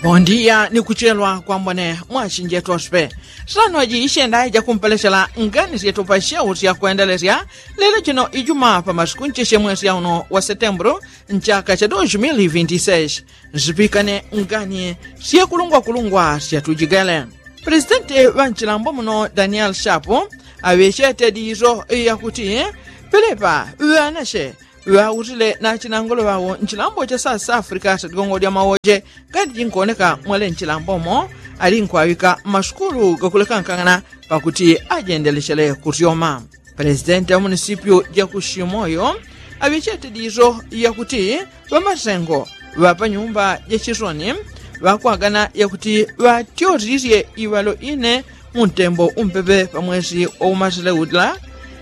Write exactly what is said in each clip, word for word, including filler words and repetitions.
Bondiya ni kuchelwa kwambone mwasinje tospe. Sano ji ishenda jakumpelesela ngani syetupa syau syakwendelesya lelo jino ijuma pa masiku nchesye mwesi yauno wa setembulu nchaka cha dos mil vinti seis. Nsipikane ngani syekulungwakulungwa syatujigele. Presidenti ŵa nchilambo muno daniel shapu aŵechete diso yakuti pelepa ŵanasye ŵausile na chinangolo ŵawo nchilambo cha south africa satigongo dya mawoje ngati jinkoneka mwele nchilambomo ali nkwawika masukulu gakulekankangana pakuti ajendelechele kusyoma. Presidenti wa munisipyu ja ku shimoyo aŵechete diso yakuti ŵamasengo ŵa panyumba ja chisoni ŵakwagana yakuti ŵatyotisisye iŵalo ine mu ntembo umpepe pa mwesi waumasile ula.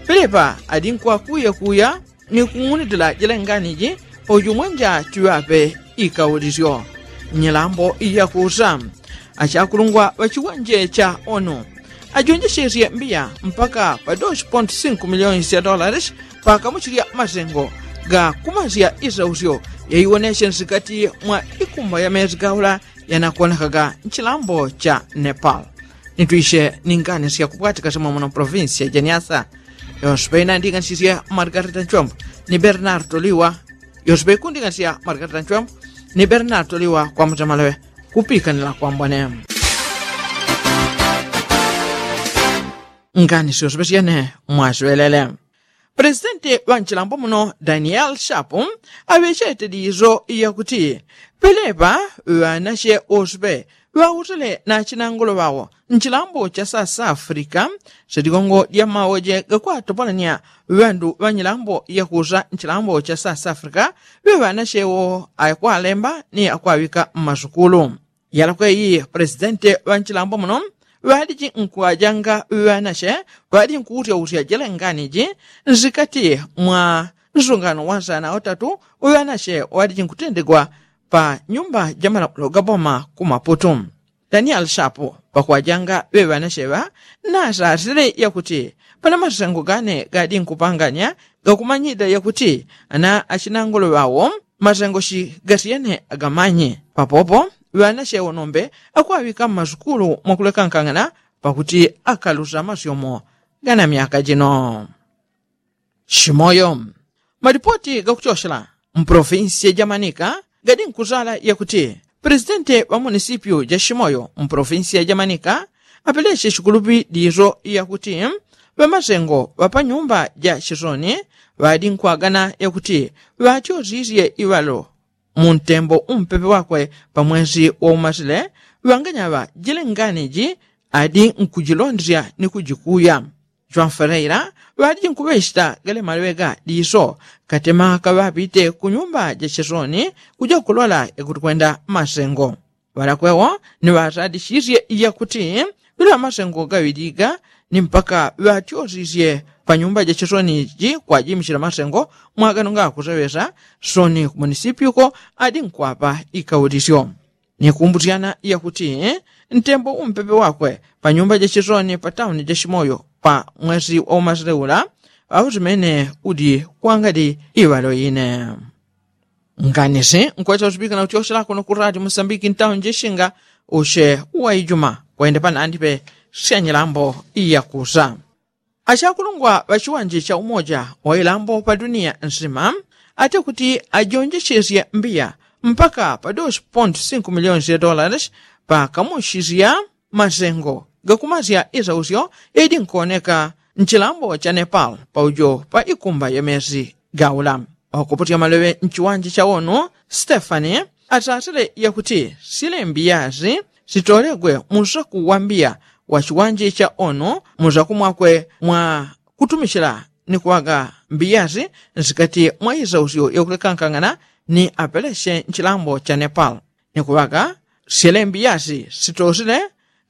Pelepa adi nkwakuyakuya ni kung'unitila jilengani ji paujo mwenja chiŵape ikaulisyo. Nyilambo iyakusa achakulungwa ŵa chiwanje cha onu ajonjesesye mbiya mpaka pa dos ponto cinco miliyoni sya dolares pakamuchilya masengo ga kumasya isausyo yaiwonesye nsikati mwa ikumba ya mezi gaula yanakonekaga nchilambo cha nepal. Nitwisye ni ngani syakupwatika simwe muno provinsi ya janiasa. Yonse paina nding'anisisye margarita nchwembo ni bernardo liwa. Yonse paikunding'anisya margarita nchwembo ni bernardo liwa kwa mutemalewe kupikanila kwambone. Ngani syonse pasyene mwaswelele. Presidenti ŵa nchilambo muno daniel shapu aŵechete diso yakuti pelepa ŵanasye osupe ŵautele na chinangolo ŵawo nchilambo cha south africa. Sitigongo dya mawoje gakwatopolanya ŵandu ŵa nyilambo yakusa nchilambo cha south africa ŵe ŵanasye wo akwalemba ni akwaŵika mmasukulu. Yalakwe iyi presidenti ŵa nchilambo muno ŵadiji nkwajanga ŵanasye ŵadiji nkuwutyautya jele nganiji nsikati mwa nsungano wa nsana utatu ŵanasye ŵadiji nkutendegwa pa nyumba ja malamulo ga boma ku maputu. Daniel shapu pakwajanga ŵe ŵanasye ŵa nasasile yakuti pana masengo gane gadi nkupanganya gakumanyida yakuti ana achinangolo ŵawo masengo shi gasyene agamanyi. Papopo ŵanasye wonombe akwaŵika mmasukulu mwakulekankang'ana pakuti akalusa masyomo gana myaka jino. Shimoyo. Malipoti gakuchoshela mpolofinsi ya jamanika gadi nkuzala yakuti presidenti ŵa munisipyu ja shimoyo mpolofinsi ya jamanika apelesye shikulupi diso yakuti ŵamasengo ŵa panyumba ja shisoni ŵadi nkwagana yakuti ŵatyosisye iŵalo mu ntembo umpepe wakwe pa mwesi waumasile. Ŵanganyaŵa jile nganiji adi nkujilondesya ni kujikuya. Jwanfereila ŵadiji nkuŵechita gale maleŵe ga diso katema kaŵapite ku nyumba ja chisoni kuja kulola yakuti kwenda masengo. Ŵalakwewo ni ŵasadisisye yakuti ŵila masengo gaŵiliga ni mpaka ŵatyosisye pa nyumba ja chisoni ji kwajimisila masengo mwagano ngakuseŵesa soni ku munisipyuko adi nkwapa ikaulisyo. Nikumbusyana yakuti ntembo umpepe wakwe pa nyumba ja chisoni pa tauni ja shimoyo pa mwesi waumasile ula ŵausimene udi kwangadi iŵalo ine. Nganisi nkwesa usipika na utyosela kuno ku radio musambiki ntauni ja shinga usye uwaijuma kwende panandipe sya nyilambo iyakusa. Achakulungwa ŵa chiwanje cha umoja wa ilambo pa duniya nsima ate kuti ajonjechesye mbiya mpaka pa dos ponto cinco miliyoni sya dolares pakamuchisya masengo gakumasya isausyo yaidi nkuoneka nchilambo cha nepal paujo pa ikumba ya mesi gaula. Wakuputya maleŵe nchiwanje cha onu stefani atatele yakuti silembi yasi sitolegwe musaku wa mbiya wa chiwanje cha onu musaku mwakwe mwa kutumichila ni kuŵaga mbiyasi nsikati mwa isausyo yakulekankangana ni apelesye nchilambo cha nepal. Ni kuŵaga syele mbiyasi sitosile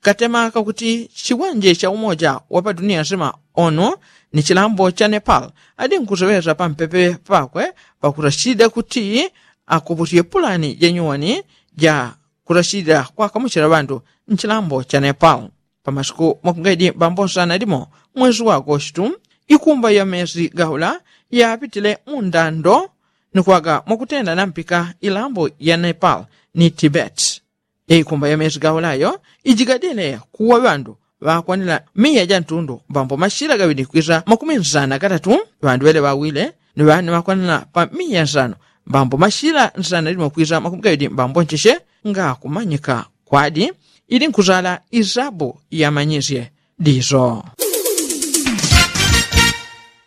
katema kakuti chiwanje cha umoja wa pa duniya nsima onu ni chilambo cha nepal adi nkuseŵesa pampepe pakwe pakusachida kuti akupusye pulani ja nyuwani ja kusachida kwakamuchila ŵandu nchilambo cha nepal. Pa masiku makungaidi mbambosana limo mwesi wa agostu ikumba ya mesi gaula yapitile mu ndando ni kwaga mwakutenda na mpika ilambo ya nepal ni tibet. Yaikumba ya mezi gaulayo ijigadile kuwa ŵandu ŵakwanila miya ja ntundu mbambo mashila gaŵili kwisa makumi nsana gatatu. Ŵandu ŵele ŵawile ni ŵane ŵakwanila pa miya nsano mbambo mashila nsana limo kwisa makumi gaŵili mbambo ncheche ngakumanyika kwadi ili nkuzala isabu yamanyisye diso.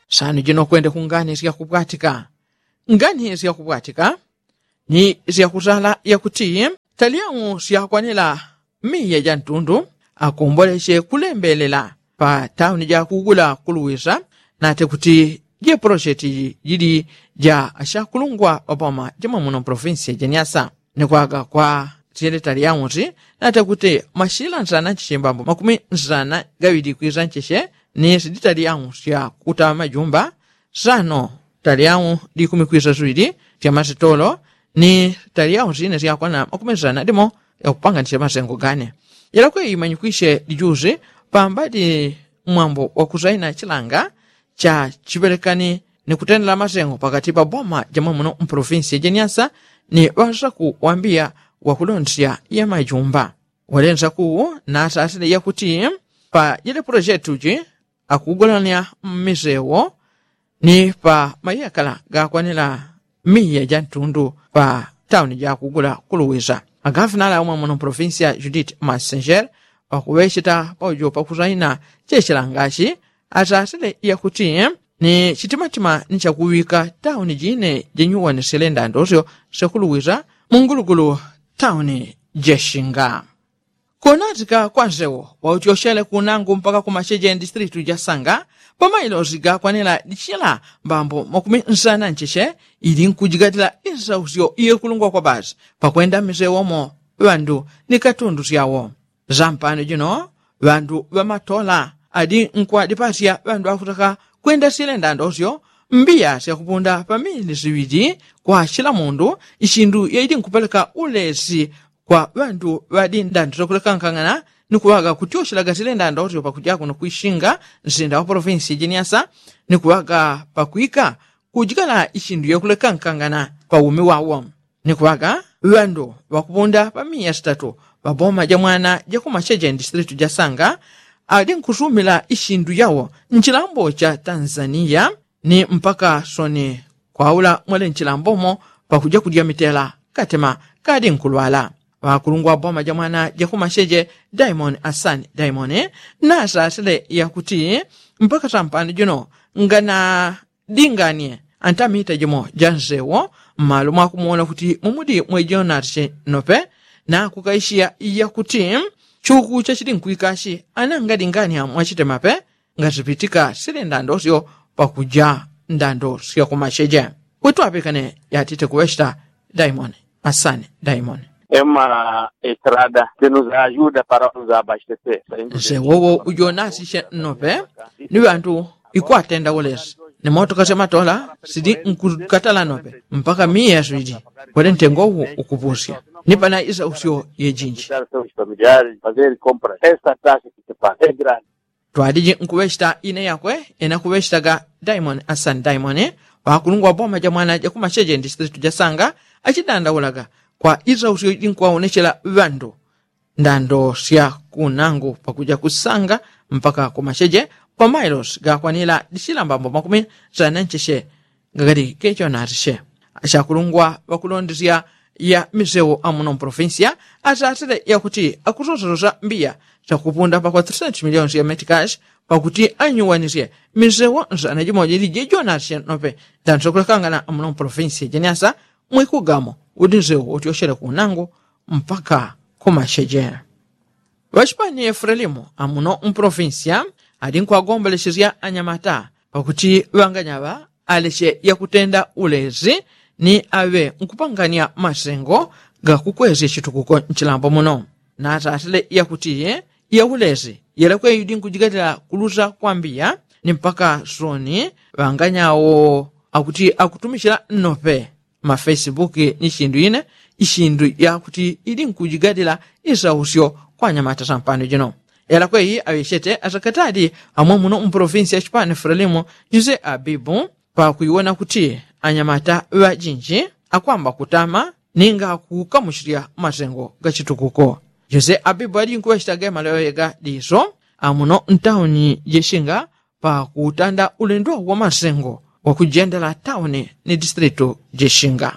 Sanu jino kwende kungani syakubwatika. Ngani syakubwatika ni syakuzala yakuti talyamu syakwanila miya ja ntundu akomboleche kulembelela pa tauni ja kugula kuluwisa nate kuti jepolosheti jili ja ashakulungwa opoma jemwe muno mpolofinsi ya jeniasa ni kwaga kwa syele talyamu si nate kuti mashila nsana ncheche mbambo makumi nsana gaŵili kwisa ncheche ni sidi talyamu syakutama majumba sano talyamu likumi kwisa siŵili sya masitolo ni talyamu sine syakwana makumi nsana limo yakupanganisya masengo gane. Yalakwe imanyikwisye lijusi pambadi mwambo wakusaina chilanga cha chiŵelekani ni kutendela masengo pakati pa boma jamwe muno mpolofinsi ya jeniasa ni ŵasaku wambiya wakulondesya ya majumba. Walensaku nasasile yakuti pa jele polojetu ji akugulanya mmisewo ni pa mayekala gakwanila miya ja ntundu pa tauni jakugula kuluwisa. Agafinala umwe muno mpolofinsi ya judith massenger pakuŵecheta paujo pakusaina chechilangachi asasile yakuti ni chitimatima ni chakuŵika tauni jine jenyuwanisile ndandosyo syakuluwisa mungulugulu tauni jeshinga. Kunatika kwa nsewo wautyoshele kunangu mpaka kumacheje ndistritu jasanga pamailosi gakwanila dichila mbambo makumi nsana ncheche ili nkujigatila isausyo iyekulungwa kwa basi pakwenda mmisewo mo ŵandu ni katundu syawo. Zampano jino ŵandu ŵamatola adi nkwadipasya ŵandu akutaka kwenda syele ndandosyo mbiya syakupunda pa mili siŵili kwa chila mundu ichindu yaili nkupeleka ulesi kwa ŵandu ŵadi ndandosyo kulekankang'ana ni kuŵaga kutyoshelaga syele ndandosyo pakuja kuno kwishinga nsinda wa polofinsi jeniasa ni kuŵaga pakwika kujikala ichindu yakulekankang'ana pa umi wawo. Ni kuŵaga ŵandu ŵakupunda pa miya sitatu ŵaboma jamwana jakumacheje ndistritu jasanga adi nkusumila ichindu yawo nchilambo cha tanzaniya ni mpaka soni kwaula mwele nchilambomo pakuja kudya mitela katema kadi nkulwala. Ŵakulungwa boma jamwana jakumacheje daimoni asani daimoni nasasile yakuti mpaka sampano jino ngana dinganie antamita jimo jansewo mmalo mwakumuwona kuti mumudi mwejonarche nope nakukaishiya yakuti chuku chachili nkwikashi anangadingania mwachitemape ngasipitika sili ndandosyo pakuja ndandosyo kumacheje. Witwapikane yatite kuwechita daimoni asani daimoni. Ema estrada ke nuzajuda para nuzabasteser. Nsewowo ujonasishe nope ni ŵantu ikwatenda ulesi ni motoka syamatola sili nkukatala nope mpaka miya yaswili kwele ntengo uwu ukupusya ni pana isausyo yejinji. Twaliji nkuŵechita ine yakwe ena kuŵechitaga daimoni asani daimoni ŵakulungwa boma jamwana jakumacheje ndistritu jasanga achidandaulaga kwa isausyo jinkwawonechela ŵandu ndando sya kunangu pakuja kusanga mpaka kumacheje pamailosi gakwanila disila mbambo makumi sana ncheche. Ngakati kecho natishe achakulungwa ŵakulondesya ya misewo amuno mpolofinsiya asasile yakuti akusosasosa mbiya syakupunda pakwa three hundred miliyoni ya metikashi pakuti anyuwanisye misewo nsana jimoja ili jejo natishe nope. Ndando syakulekangana amuno mpolofinsiya jeniasa mwikugamo uti nsewo utyoshele kunangu mpaka kumacheje. Ŵachipani efulelimu amuno mpolofinsiya ali nkwagombolechesya anyamata pakuti ŵanganyaŵa aleche yakutenda ulezi ni aŵe nkupangania masengo gakukwesya chitukuko nchilambo muno. Natatile yakuti yaulezi yelekwe yudi nkujigatila kulusa kwambiya ni mpaka soni ŵanganyawo akuti akutumichila nnope mafesibuki ni chindu ine ichindu yakuti ili nkujigadila isausyo kwa anyamata sampano jino. Yalakweyi aŵechete asakatadi amwe muno mpolofinsi ya chipani frelimu jose abibu pakuiwona kuti anyamata ŵajinji akwamba kutama ninga kukamuchilya masengo gachitukuko. Jose abibu adinkuŵechitaga emaleŵeŵe ga diso amuno ntauni jeshinga pakutanda ulendo wa masengo wakujendela tauni ni distritu jeshinga.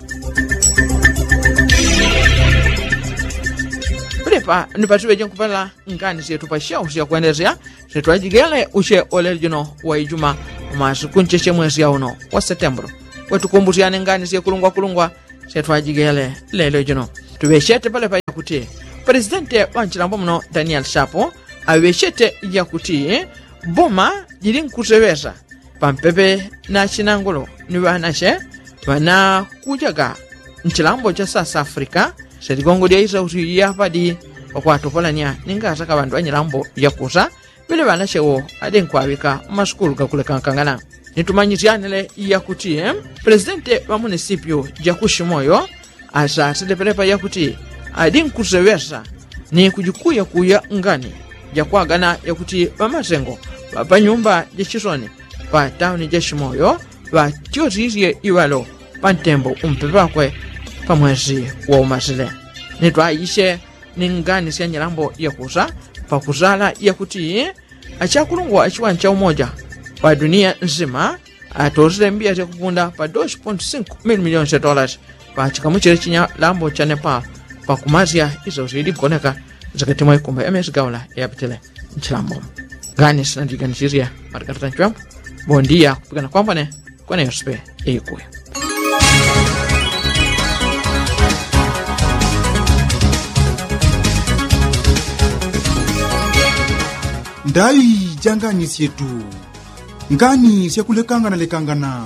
Pelepa nipatiŵeje nkupela ngani syetu pasyausya kwendelesya syetu ajigele usye olelo jino wa ijuma umasiku nchechemwesya uno wa setembulu. Wetukumbusyane ngani syekulungwakulungwa syetu ajigele lelo jino. Tuŵechete pelepa yakuti pelesidente wa nchilambo muno danieli shapu aŵechete yakuti boma jilinkuseŵesa pampepe na chinangulu ni ŵanache ŵanakujaga nchilambo cha sasa afrika. Seligongo lyaisa usi lyapadi pakwatopolanya ningasaka ŵandu ŵanyilambo yakusa ŵele ŵanache wo adinkuŵaŵika mmasukulu gakulekangana. Nitumanyisyanile yakuti pelesidente ŵa munisipyu jakushimoyo asasile pelepa yakuti adinkuseŵesa ni kujikuyakuya ngani jakwagana yakuti ŵamasengo ŵapanyumba jachisoni pa tauni jachimoyo ŵatyosisye iŵalo pantembo umpepe ŵakwe pamwesi waumasile. Nitwaiche ni ngani sya nyilambo yakusa pakusala yakuti achakulungwa achiwani cha umoja pa duniya nsima atosile mbiya syakupunda pa dos pontu sinku mili miliyoni sya tolasi pachikamuchile chinyalambo cha nepal pakumasya isausi idigoneka nzikati mwa ikumba ya mesi gaula yapitile nchilambo. Ngani sinandiganisisya matikatata nchwembo bondiya kupikana kwambone kweneyosipe ikuya. Ndai ja ngani syetu ngani syakulekangana lekangana.